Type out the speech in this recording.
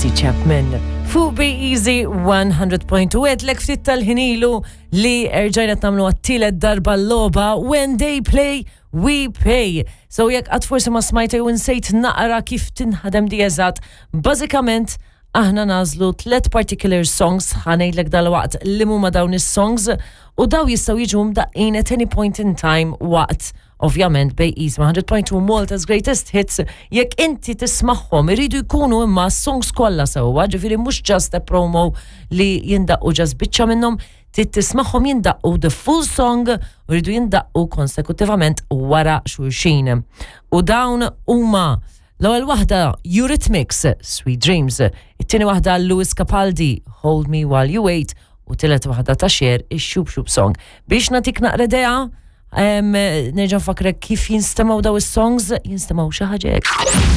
Tracy Chapman. Fuq Be Easy 100.2 għedlek ftit tal-ħin ilu li erġajna tagħmlu għat-tielet darba l-logħba When They Play We Pay. So jekk qatt forsi ma smajta jew insejt naqra kif tinħadem di eżatt, bażikament aħna nagħżlu tliet particular songs, ħa ngħidlek dalwaqt li huma dawn is-songs u daw jistgħu jiġu mdaqqin at any point in time waqt ovvjament Bay East 100.2 Malta's Greatest Hits jekk inti tismagħhom iridu jkunu imma songs kollha sewwa, ġifieri mhux just a promo li jindaqqu just biċċa minnhom, trid tismagħhom jindaqqu the full song u jridu jindaqqu konsekutivament wara xulxin. U dawn huma l-ewwel waħda Eurythmics, Sweet Dreams, it-tieni waħda Lewis Capaldi, Hold Me While You Wait, u tielet waħda ta' Cher, ix-Shoop Shoop Song. Biex nagħtik naqra idea, nerġa' nfakkrek kif jinstemgħu daw is-songs, jinstemgħu xi ħaġa hekk.